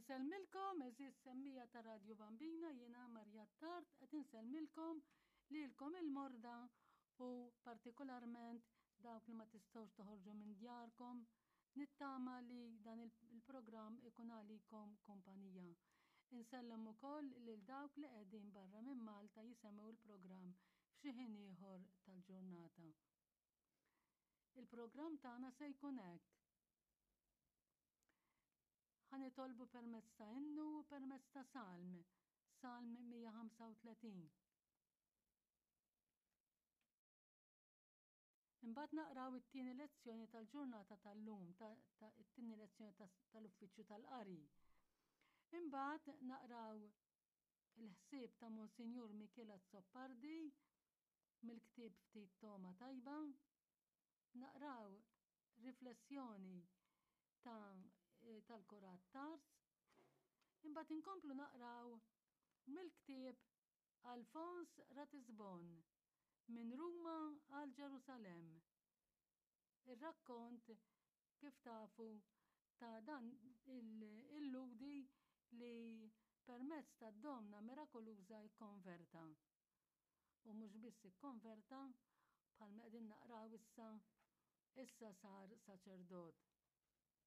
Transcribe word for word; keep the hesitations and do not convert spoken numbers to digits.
Insellmilkom, għeżież semmiegħa ta' Radju Bambina, jiena Marja Tard qed insellmilkom lilkom il-morda u partikolarment dawk li ma tistgħux toħorġu minn djarkom. Nittama li dan il-programm ikun għalikom kumpanija. Insellem ukoll lil dawk li qegħdin barra minn Malta jisimgħu l-programm f'xi ħin ieħor tal-ġurnata. Il-programm tagħna se jkun hekk. Ħa nitolbu permezz ta' innu u permezz ta' salm, Salm mija ħamsa u tletin. Imbagħad naqraw it-tieni lezzjoni tal-ġurnata tal-lum, it-tieni lezzjoni tal-uffiċċju tal-qari. Imbagħad naqraw il-ħsieb ta' Monsinjur Mikiel Azzopardi mill-ktieb Ftit Togħma Tajba. Naqraw riflessjoni ta' tal-Kurat Tars. Imbagħad inkomplu naqraw mill-ktieb Alfons Ratisbon minn Ruma għal Ġerusalemm. Ir-rakkont, kif tafu, ta' dan il-ludi li permezz ta' Domna Mirakoluża ikkonverta. U mhux biss ikkonverta, bħalma qegħdin naqraw issa, issa sar saċerdot.